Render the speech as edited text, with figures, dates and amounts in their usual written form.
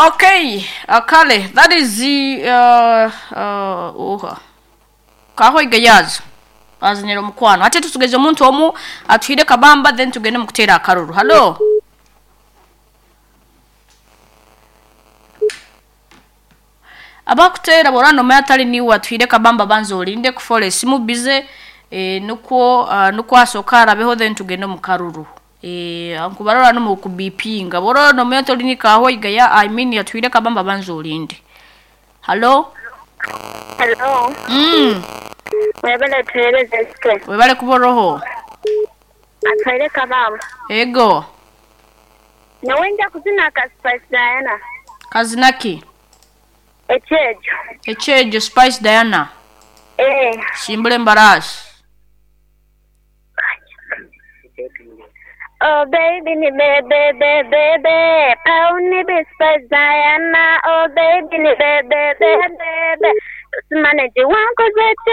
Okay, kale that is the uha kahoiga yazo azinira omukwano ate tusugeze omuntu omu atuhire kabamba then tugende mukutera akaruru. Hallo, abakutera borano omwe atali niwe atuhire kabamba, banza olinde kufola esimu bize nukwo nukwo asooka arabeho then tugende mu karuru. Nkubarora no mukubipinga borora nomwe atali ni kahoiga ya, I mean, atuhire kabamba, banza olinde. Hallo. Hello. Mwebale tuhereze sike. Webale kuboroho. Atwaire kabamba. Ego. Nawe nja kuzina ka Spice Diana. Kazinaki? Ekyejo. Ekyejo, Spice Diana. Eh. Shimbule embarasi. Oh baby ni bebe bebe be. Pau ni be Spice Diana. Oh baby ni bebe bebe be. Tusimane jiwangu zetu.